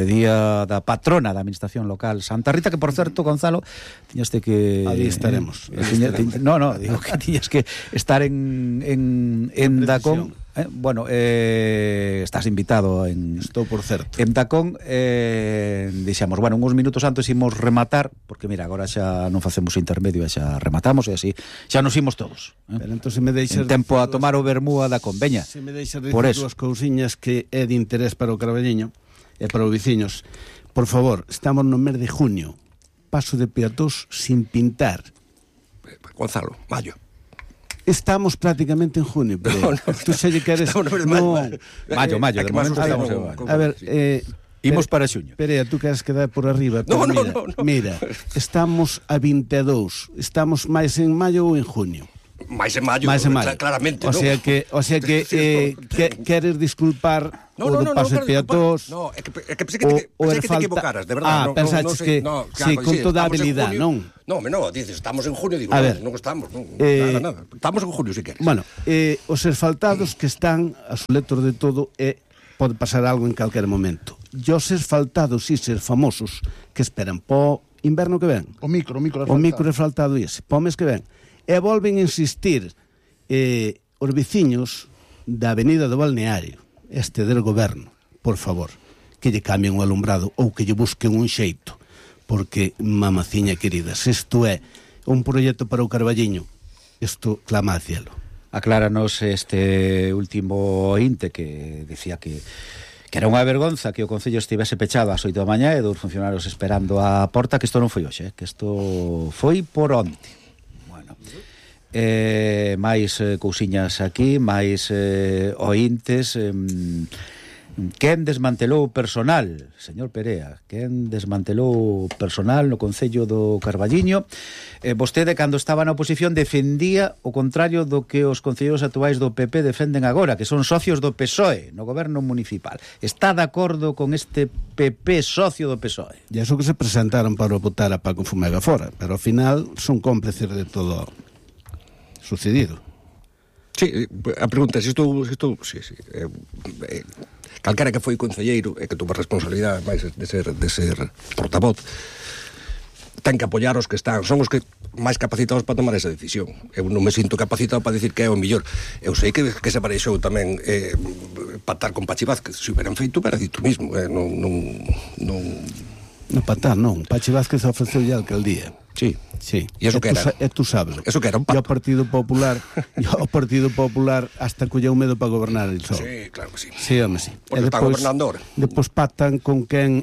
Día da patrona da administración local, Santa Rita, que por certo, Gonzalo, tiñaste que... Allí estaremos. Digo que tiñas que estar en Dacón. Bueno, estás invitado Estou por certo. En Dacón, dixemos, bueno, uns minutos antes imos rematar, porque mira, agora xa non facemos intermedio, xa rematamos e así, xa nos imos todos. Pero entón se me deixas en tempo a tomar o vermú a Dacón, veña. Se me deixas dicir dúas cousiñas que é de interés para o Carballiño e para os veciños. Por favor, estamos no mes de junio. paso de peatós sin pintar. Gonzalo, mayo. Estamos prácticamente en junio, pero tú se lle queres... Mayo, de momento estamos en mayo. A ver, imos para xuño. Perea, tú queres quedar por arriba. No. Mira, estamos a 22. Estamos máis en maio ou en junio? Máis en maio, claramente. O sea que queres disculpar o do paso de peatós. No, é que pensei que te equivocaras, de verdade. Pensaches que con toda a habilidade, non? No, dices, estamos en junio, digo, non estamos, nada. Estamos en junio, si queres. Bueno, os asfaltados que están a soletor de todo pode pasar algo en calquer momento. E os asfaltados famosos que esperan po inverno que ven. O micro asfaltado ese, po mes que ven. E volven a insistir os veciños da avenida do Balneario, del goberno, por favor, que lle cambien o alumbrado ou que lle busquen un xeito, porque, mamaciña querida, se isto é un proxecto para o Carballiño, isto clama a cielo. Acláranos este último ointe que decía que era unha vergonza que o Concello estivese pechado ás 8 da mañá e dos funcionarios esperando a porta, que isto non foi hoxe, que isto foi por onte. Máis cousiñas aquí, máis ointes. Quen desmantelou o personal, señor Perea? Quen desmantelou o personal no Concello do Carballiño? Vostede, cando estaba na oposición, defendía o contrario do que os concelleiros actuais do PP defenden agora, que son socios do PSOE no goberno municipal. Está de acordo con este PP socio do PSOE? E iso que se presentaron para votar a Paco Fumega fora, pero ao final son cómplices de todo sucedido. Sí, a pregunta é se estou sí. Calquera que foi concelleiro e que tuvo responsabilidade máis de ser portavoz, ten que apoiar os que están, son os que máis capacitados para tomar esa decisión. Eu non me sinto capacitado para decir que é o mellor. Eu sei que se pareixou tamén patar con Pachi Vázquez, se hubieran feito, era dito mismo, non patar, non. Pachi Vázquez ofreceu ya a alcaldía. Sí. E eso que era? Tú sabes. Eso que era un pacto. E o Partido Popular hasta colleu medo para gobernar el sol. Sí, claro que sí. Sí, home, sí. Porque está gobernando ahora. Depois pactan con quen,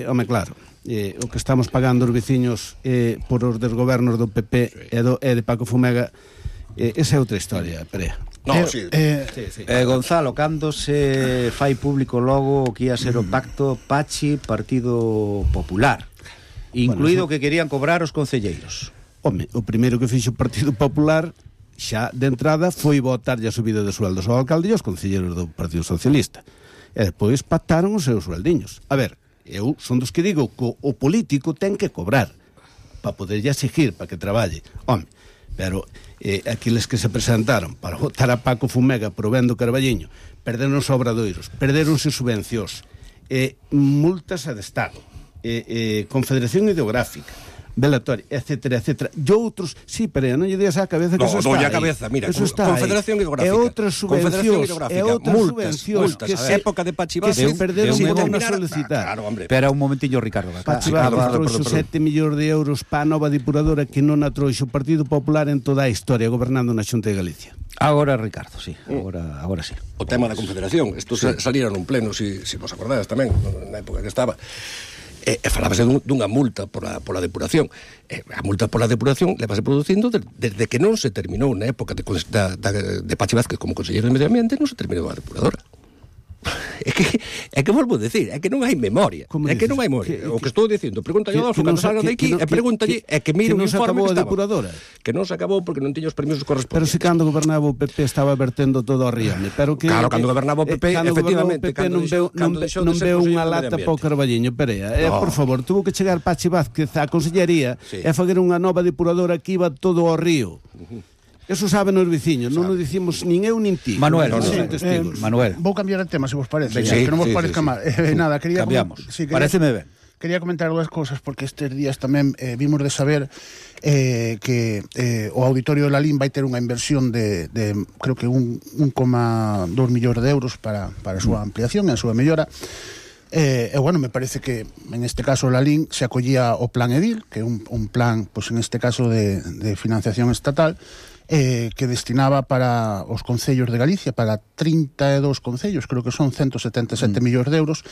home, claro, o que estamos pagando os veciños por os desgobernos do PP e de Paco Fumega, esa é outra historia, Perea. No, sí. Gonzalo, cando se fai público logo o que ia ser o pacto Pachi-Partido Popular, incluído que querían cobrar os concelleiros? Home, o primeiro que fixo o Partido Popular xa de entrada foi votarlle a subida de sueldos ao alcalde e aos concelleiros do Partido Socialista, e depois pactaron os seus sueldiños. A ver, eu son dos que digo que o político ten que cobrar para poderlle exigir, para que traballe. Home, pero aqueles que se presentaron para votar a Paco Fumega por o ben do Carballiño, perderon os obradoiros, perderonse subvencións, multas de Estado, confederación ideográfica, velatoria, etcétera. E outros, sí, pero non lle dias á cabeza que eso está aí. No, a cabeza, mira, confederación ideográfica. E outras subvencións que se época de Pachi Vázquez que se perderon por non solicitar. Claro, hombre. Espera un momentillo, Ricardo. Pachi Vázquez trouxo 7 millóns de euros para a nova depuradora que non a trouxo o Partido Popular en toda a historia gobernando na Xunta de Galicia. Agora, Ricardo, sí. Agora sí. O tema da confederación, isto salira nun pleno, se vos acordades tamén, na época que estaba. Falábase dunha multa pola depuración. A multa pola depuración levase producindo desde que non se terminou na época de Pachi Vázquez como conselleiro de Medio Ambiente, non se terminou a depuradora. É que volvo a decir, é que non hai memoria. É que non hai memoria. O que estou dicindo, pregúntalle a Adolfo cando salga de aquí, e pregúntalle, é que mire o informe que estaba. Que non se acabou porque non tiña os permisos correspondentes. Pero se cando gobernaba o PP estaba vertendo todo ao riame. Claro, cando gobernaba o PP, efectivamente, non veu unha lata para o Carballiño, Perea. Por favor, tuvo que chegar Pachi Vázquez á consellería e fazer unha nova depuradora que iba todo ao río. Eso saben os veciños, non nos dicimos nin eu nin ti. Manuel, Manuel. Vou cambiar de tema, se vos parece, que non vos parezca mal. Nada, cambiamos. Pareceme ben. Quería comentar dúas cousas, porque estes días tamén vimos de saber que o Auditorio de Lalín vai ter unha inversión de creo que 1,2 millóns de euros para a súa ampliación e a súa mellora. Bueno, me parece que en este caso Lalín se acollía o Plan Edil, que é un plan, pues en este caso de financiación estatal, que destinaba para os concellos de Galicia, para 32 concellos, creo que son 177 millóns de euros,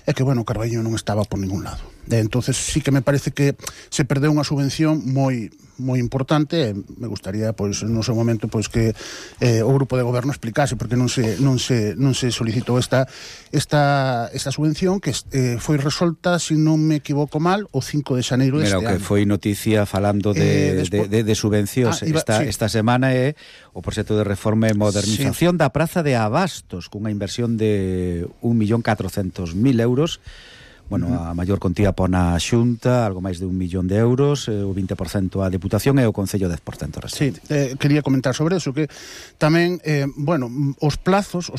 e que, bueno, Carballiño non estaba por ningún lado. Entonces sí que me parece que se perdeu unha subvención moi importante. Me gustaría, pois, no seu momento, pois, que o grupo de goberno explicase porque non se solicitou esta subvención que foi resolta, se non me equivoco mal, o 5 de xaneiro deste ano. Que foi noticia falando de subvencións esta semana o proxecto de reforma e modernización da Praza de Abastos cunha inversión de 1.400.000 euros. Bueno, a maior contía pon a Xunta, algo máis de 1 millón de euros, o 20% a Deputación e o Concello 10% restante. Sí, quería comentar sobre eso, que tamén, os plazos